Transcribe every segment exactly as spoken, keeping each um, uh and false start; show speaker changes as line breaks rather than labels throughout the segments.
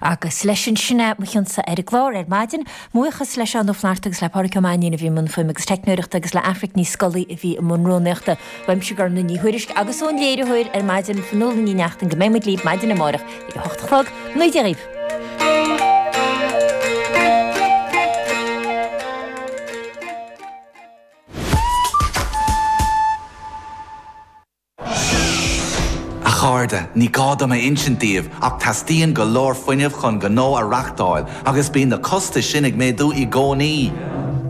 Agus leis sin sin é mo chionsa ar an gclár ar maidin, buíochas le Seán Ó Flaithearta agus le Pádraig Ó Mainnín a bhí i mbun fuaime agus teicneoireachta agus le Aifric Ní Scolaí a bhí i mbun rúnaíochta. Uaimse Gormlaith Ní Thuairisg agus ón léiritheoir ar maidin Fionnuala Ní Neachtain go mbeidh muid libh maidin amárach ag a hocht a chlog, naoi Dia dhaoibh.
A chairde, ní gá dom a insint daoibh ach teastaíonn go leor fuinnimh chun gnó a reáchtáil agus bíonn na costais sin ag méadú i gcónaí.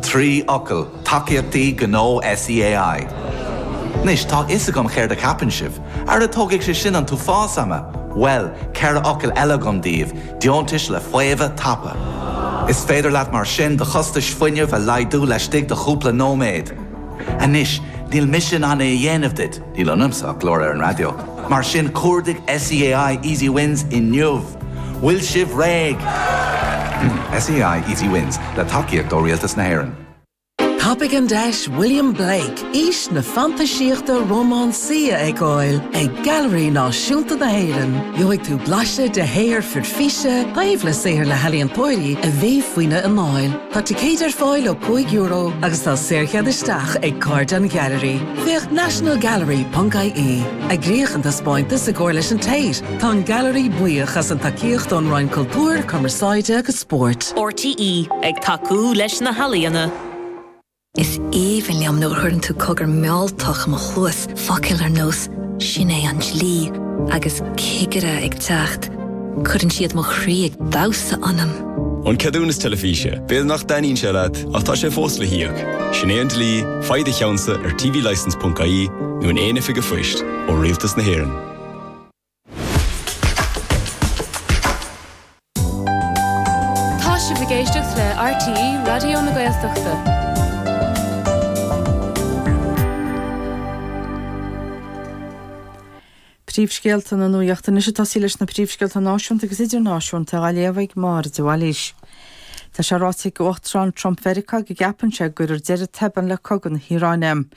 Trí fhocal, tacaíochtaí gnó SEAI. Anois tá a fhios agam céard a cheapann sibh, Ara tógfaidh sé sin an t-uafás ama. Well, ceithre fhocal eile agam daoibh, deontais le faomhadh tapa. Is féidir leat mar sin do chostais fuinnimh a laghdú laistigh de chúpla nóiméad. Anois, níl mise in ann é a dhéanamh duit, níl ionamsa ach glór ar an raidió. Mar sin cuardaigh SEAI Easy Wins inniu. Bhfuil sibh réidh! SEAI Easy Wins le tacaíocht ó Rialtas na hÉireann.
Tapaigh an deis William Blake, aois na fantaisíochta rómánsaí a fheiceáil ag Gailearaí Náisiúnta na hÉireann. Gheobhaidh tú blaiseadh de shaothar fir físe, taobh le saothar le healaíontóirí a bhí faoina anáil. Tá ticéid ar fáil ó cúig euro agus tá saorchead isteach ag Cairde an Ghailearaí. Féach nationalgallery.ie. Eagraíodh an taispeántas i gcomhar leis an Tate. Tá an Gailearaí buíoch as an tacaíocht ón Roinn Cultúir, Cumarsáide agus Spóirt.
RTÉ ag tacú leis na healaíona.
Is aoibhinn liom nuair a chuireann tú cogar mealltach i mo chluas focail ar nós sin é an dlí agus cigire ag teacht. Cuireann siad mo chroí ag damhsa ionam.
An ceadúnas teilifíse, B'fhéidir nach dtaitníonn sé leat ach tá sé fós le híoc. Sin é an dlí, faigh do cheannsa ar tvlicence.ie nó in aon oifig phoist ó Rialtas na hÉireann.
Tá sibh ag éisteacht le RTÉ Raidió na Gaeltachta.
Príomhscéalta na nuachta anois ag tosaí leis na príomhscéalta náisiúnta agus idirnáisiúnta á léamh ag Máire de Bhailís. Tá sé ráite ag Uachtarán Trump Mheiriceá go gceapann sé go gcuirfear deireadh tobann le cogadh na hIaráine.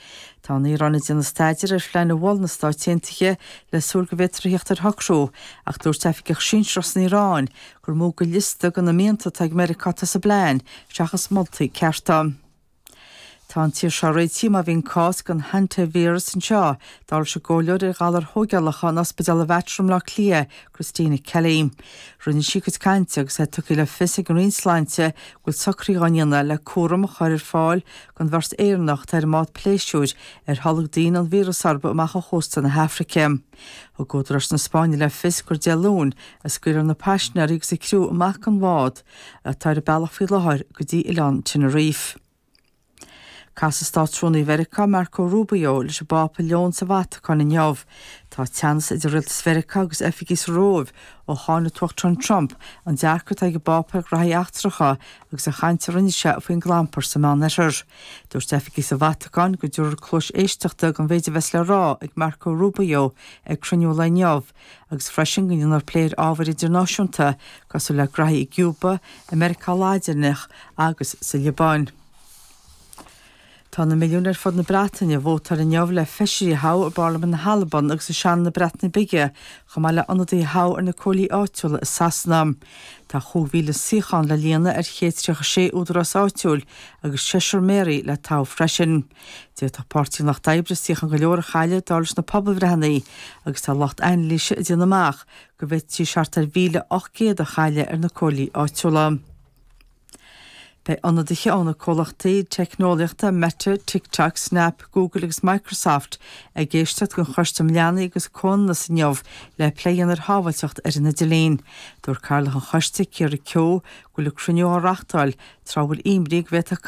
Tá an Iaráin ag déanamh staidéir ar phlean a mhol na Stáit Aontaithe le súil go bhféadfar a theacht ar shocrú, ach dúirt oifigeach sinsearach san Iaráin gur mó de liosta de na mianta atá ag Meiriceá atá sa bplean seachas moltaí cearta. Tá an tír seo réitithe má bhíonn cás den hantavíreas anseo, dar leis an gcomhairleoir ar ghalair thógálacha in Ospidéal Mhater i mBleá Cliath, Christina Kelly. Rinne sí a cuid cainte agus é tugtha le fios ag an Roinn Sláinte go bhfuil socruithe á ndéanamh le cúram a chur ar fáil don bheirt Éireannach atá ar an mbád pléisiúir ar tholg daoine an víreas orthu amach ó chósta na hAfraice. Thug údaráis na Spáinne le fios gur Dé Luain a scaoilfear na paisinéirí agus a gcriú amach den bhád atá ar a bealach faoi láthair go dtí oileán Tenerife. Casfaidh Státrúnaí Mheiriceá Marco Rubio leis an bPápa Leon sa Vatacáin inniu. Tá teannas idir Rialtas Mheiriceá agus oifigigh sa Róimh ó cháin an tUachtarán Trump an dearcadh atá ag an bPápa ar ghraithí eachtracha agus an chaint a rinne sé faoin gclampar sa Meánoirthear. Dúirt oifigigh sa Vatacáin go dtabharfar cluas éisteachta don mhéid a bheas le rá ag Marco Rubio ag cruinniú lae inniu agus freisin go ndéanfar plé ar ábhair idirnáisiúnta cosúil le graithí i gCúba, i Meiriceá Laidineach agus sa Liobáin. Tá na milliúin ar fud na Breataine ag vótáil inniu le feisirí a thoghadh i bParlaimint na hAlban agus i Seanad na Breataine Bige, chomh maith le ionadaithe a thoghadh ar na comhairlí áitiúla i Sasana. Tá chúig mhíle suíochán le líonadh ar chéad tríocha sé údarás áitiúil agus seisear méaraí le toghadh freisin. D'fhéadfadh Páirtí an Lucht Oibre suíocháin go leor a chailleadh dar leis na pobalbhreitheanna agus tá lucht anailíse ag déanamh amach go bhféadfaidís thart ar mhíle ocht gcéad a chailleadh ar na comhairlí áitiúla. Beidh ionadaithe ó na comhlachtaí teicneolaíochta Meta, TikTok, Snap, Google agus Microsoft ag éisteacht don Choiste um Leanaí agus Comhionannas inniu le plé a dhéanamh ar shábháilteacht ar an idirlíon. Dúirt cathaoirleach an choiste, Ciara Keogh, go bhfuil an cruinniú á reáchtáil tráth a bhfuil imní go bhféadfadh